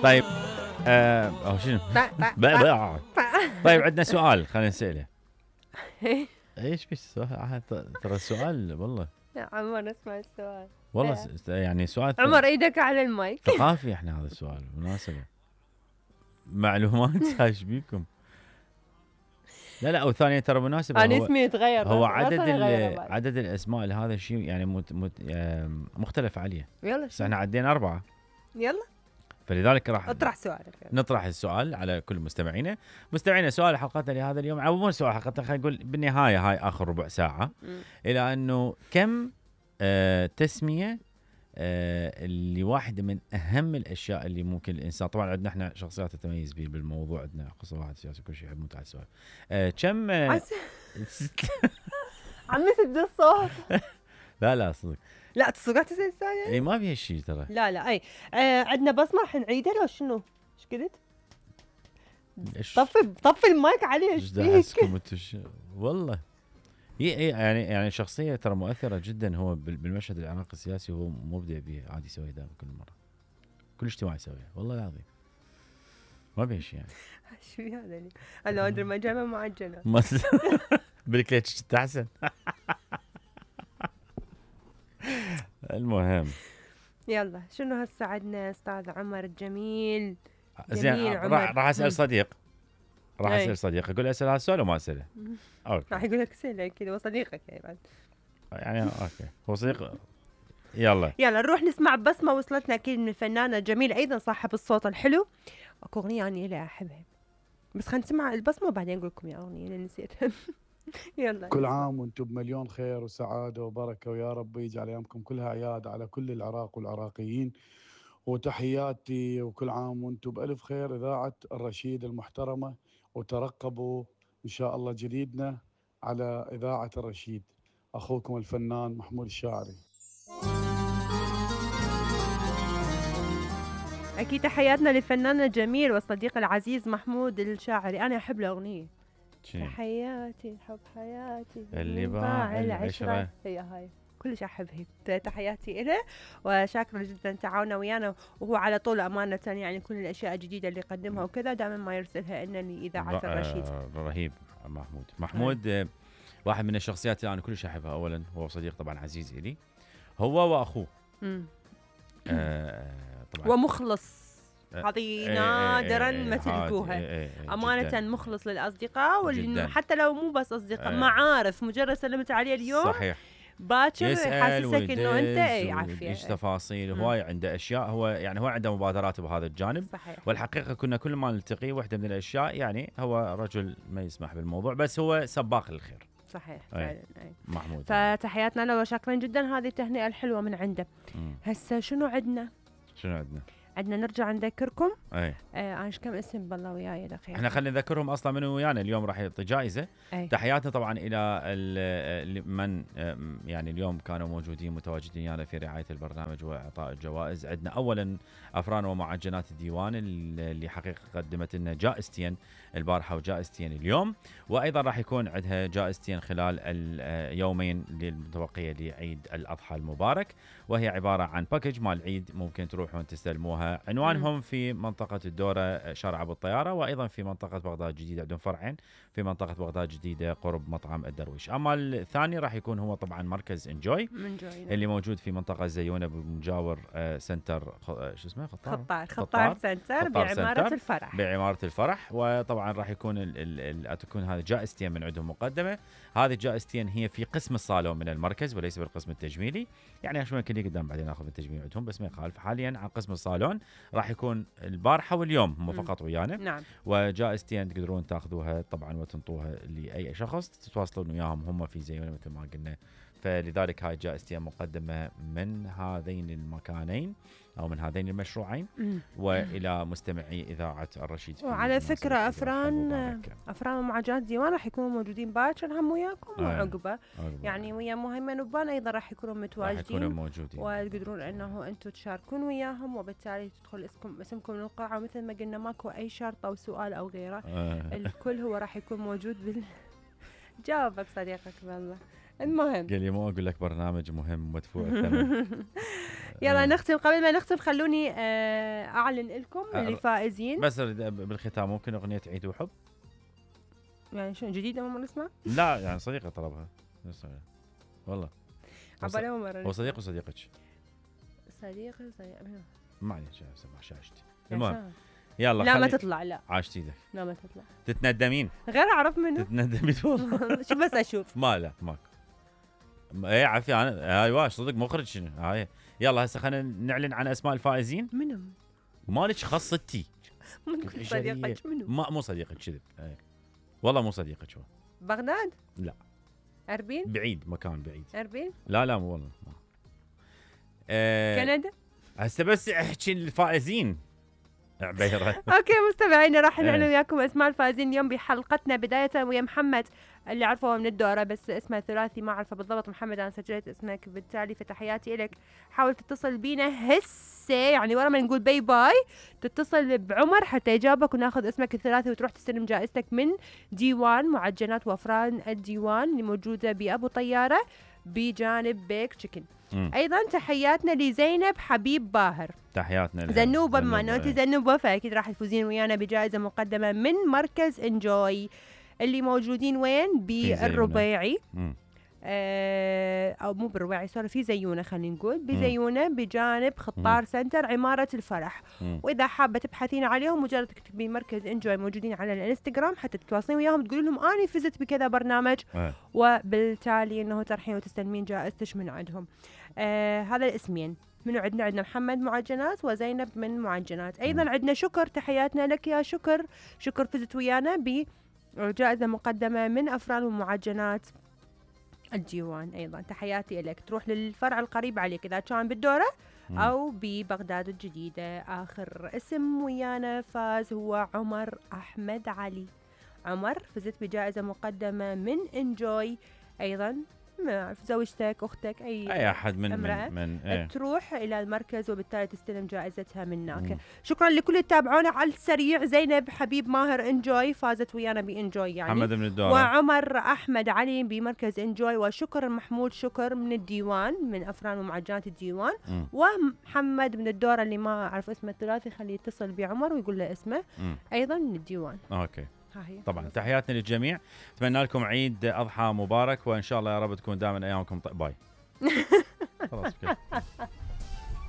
طيب او شنو؟ طيب عندنا سؤال خلينا نسأله. ايش في السؤال؟ ترى السؤال والله يا عمر اسمع السؤال والله يعني سؤال عمر ايدك على المايك. ثقافي احنا هذا السؤال مناسبة معلومات ايش بيكم؟ لا او ثانيا ترى مناسبة. انا اسمي يتغير هو عدد الاسماء لهذا الشيء يعني مختلف عليه. يلا بس احنا عدينا 4. يلا فلذلك راح اطرح سؤالك. نطرح السؤال على كل مستمعينا. سؤال حلقتنا لهذا اليوم او مو سؤال حلقتنا، خلينا نقول بالنهايه هاي اخر ربع ساعه الى انه كم تسميه اللي واحده من اهم الاشياء اللي ممكن الانسان، طبعا عندنا احنا شخصيات تتميز بالموضوع، عندنا قصه واحد سياسي كل شيء، يحب متع السؤال كم عمي سد الصوت. لا صدق لا تصدق تسال السؤال يعني؟ اي ما فيها شيء ترى. لا اي عندنا بصمه راح نعيدها لو شنو؟ ايش قلت؟ طفي المايك عليه. ايش فيك؟ والله يعني شخصيه ترى مؤثره جدا، هو بالمشهد العراقي السياسي هو مبدع به، عادي يسوي دائما كل مره كل اجتماع يسويه والله العظيم ما فيها شيء يعني. شو هذا اللي انا ادري ما جابه معجنه بالكليتش تحسن. المهم يلا شنو هسه عندنا استاذ عمر الجميل؟ زين راح اسال صديق، اسال صديق، اقول اسال هذا السؤال وما اساله. اوكي راح يقول لك اسال كذا وصديقك يعني اوكي هو صديق. يلا نروح نسمع بسمه وصلتنا اكيد من الفنانه الجميله ايضا صاحب الصوت الحلو. اكو اغنيه اني لا احبها بس خلينا نسمع البسمه وبعدين اقول لكم يا اغنيه اللي نسيتها. يلا كل عام وانتم بمليون خير وسعاده وبركه، ويا رب يجعل ايامكم كلها اعياد على كل العراق والعراقيين، وتحياتي وكل عام وانتم بالف خير اذاعه الرشيد المحترمه، وترقبوا ان شاء الله جديدنا على اذاعه الرشيد. اخوكم الفنان محمود الشاعري. اكيد تحياتنا للفنان الجميل والصديق العزيز محمود الشاعري. انا احب الاغنيه تحياتي حب حياتي اللي باع العشرة، هي هاي كلش احبها. تحياتي له وشاكره جدا تعاونه ويانا، وهو على طول امانه يعني كل الاشياء الجديده اللي يقدمها وكذا دائما ما يرسلها لنا لاذاعه الرشيد. رهيب محمود واحد من الشخصيات اللي انا كلش احبها. اولا هو صديق طبعا عزيز الي، هو واخوه طبعا ومخلص. هذه نادرا ما تلقوها امانه جداً. مخلص للاصدقاء حتى لو مو بس اصدقاء معارف، مجرد سلمت عليه اليوم صحيح باكر يحسسك انه انت عافيه ايش تفاصيل هواي عنده اشياء. هو يعني هو عنده مبادرات بهذا الجانب صحيح. والحقيقه كنا كل ما نلتقي واحده من الاشياء يعني هو رجل ما يسمح بالموضوع بس هو سباق للخير. صحيح فعلا محمود. فتحياتنا له وشاكرين جدا هذه التهنئه الحلوه من عنده. هسه شنو عندنا؟ عندنا نرجع نذكركم انا كم اسم بالله وياي الاخير. احنا خلينا نذكرهم اصلا منو ويانا اليوم راح يعطي جائزه. تحياتنا طبعا الى من يعني اليوم كانوا موجودين متواجدين ويانا في رعايه البرنامج واعطاء الجوائز. عندنا اولا افران ومعجنات الديوان اللي حقيقه قدمت لنا جائزتين البارحه وجائزتين اليوم، وايضا راح يكون عندها جائزتين خلال اليومين المتبقيه لعيد الاضحى المبارك، وهي عباره عن باكج مال العيد ممكن تروحون تستلموها. عنوانهم في منطقة الدورة شارع أبو الطيارة، وأيضا في منطقة بغداد الجديدة عندهم فرعين في منطقة بغداد الجديدة قرب مطعم الدرويش. أما الثاني راح يكون هو طبعا مركز انجوي اللي موجود في منطقة زيونة بمجاور سنتر شو اسمه خطار سنتر بعمارة الفرح. وطبعا راح يكون تكون هذه جائزتين من عندهم مقدمة. هذه الجائزتين هي في قسم الصالون من المركز وليس بالقسم التجميلي، يعني شوي يمكن قدام بعدين ناخذ التجميل عندهم بس ما يخالف. حاليا عن قسم الصالون راح يكون البارحه واليوم هم فقط ويانا. نعم. وجائزتين تقدرون تاخذوها طبعا وتنطوها لاي شخص تتواصلون وياهم هم في زيونه مثل ما قلنا. فلذلك هاي جائزتين مقدمه من هذين المكانين او من هذين المشروعين والى مستمعي اذاعه الرشيد. وعلى فكره افران ومعجنات ديوان راح يكونوا موجودين باكر هم وياكم وعقبه يعني ويا مهيمن وبان ايضا راح يكونوا متواجدين وتقدرون انه انتم تشاركون وياهم، وبالتالي تدخل اسمكم للقاعه، ومثل ما قلنا ماكو اي شرط او سؤال او غيره. الكل هو راح يكون موجود جاوبك صديقك والله. المهم قال لي مو اقول لك برنامج مهم مدفوع الثمن. يلا نختم. قبل ما نختم خلوني اعلن لكم اللي فائزين. بس بالختام ممكن اغنيه عيد وحب يعني شنو جديده ما نسمع؟ لا يعني صديقه طلبها والله. عبالي اول مره. هو صديق وصديقك؟ صديق ما عليك سمع شاشتي. المهم يلا لا ما تطلع. لا عاشت ايدك. لا ما تطلع. تتندمين غير اعرف منه. تتندمين والله. شو بس اشوف. لا ماكو. اي عافيه انا ايوه صدق مخرج شنو هاي. يلا هسه خلينا نعلن عن اسماء الفائزين. منو؟ مالك خاصتي. صديقك منو؟ مو صديقك كذب. والله مو صديقك هو. بغداد؟ لا. اربيل؟ بعيد مكان بعيد. اربيل؟ لا مو والله. كندا؟ هسه بس احكي الفائزين. عبيرة. اوكي مستمعينا راح نعلن وياكم اسماء الفائزين اليوم بحلقتنا. بداية ويا محمد اللي عرفه من الدورة بس اسمه ثلاثي ما اعرفه بالضبط. محمد انا سجلت اسمك بالتالي فتحياتي لك. حاول تتصل بينا هسه يعني ورا ما نقول باي باي تتصل بعمر حتى يجاوبك وناخذ اسمك الثلاثي وتروح تستلم جائزتك من ديوان معجنات وافران الديوان اللي موجودة بأبو طيارة بجانب بيك تشيكن. ايضا تحياتنا لزينب حبيب باهر. تحياتنا زنوبه. بما انه انت زنوبه فاكيد راح تفوزين ويانا بجائزه مقدمه من مركز انجوي اللي موجودين وين؟ بالربيعي. او مو بالربيعي سوري في زيونه خلينا نقول بزيونه بجانب خطار سنتر عماره الفرح. واذا حابه تبحثين عليهم مجرد تكتبين مركز انجوي موجودين على الانستغرام حتى تتواصلين وياهم تقولوا لهم اني فزت بكذا برنامج وبالتالي انه ترحين وتستلمين جائزتك من عندهم. هذا الاسمين. منو عندنا محمد معجنات وزينب من معجنات. ايضا عندنا شكر. تحياتنا لك يا شكر. شكر فزت ويانا بجائزه مقدمه من افران ومعجنات الديوان. ايضا تحياتي لك. تروح للفرع القريب عليك اذا كان بالدوره او ببغداد الجديده. اخر اسم ويانا فاز هو عمر احمد علي. عمر فزت بجائزه مقدمه من انجوي. ايضا ما اعرف زوجتك اختك اي احد من تروح الى المركز وبالتالي تستلم جائزتها من هناك. شكرا لكل اللي تابعونا على السريع. زينب حبيب ماهر انجوي فازت ويانا بانجوي يعني. محمد من الدورة. وعمر احمد علي بمركز انجوي. وشكر محمود شكر من الديوان من افران ومعجنات الديوان. ومحمد من الدورة اللي ما اعرف اسمه الثلاثي خليه يتصل بعمر ويقول له اسمه. ايضا من الديوان. اوكي طبعا تحياتنا للجميع. اتمنى لكم عيد اضحى مبارك وان شاء الله يا رب تكون دائما ايامكم باي. خلاص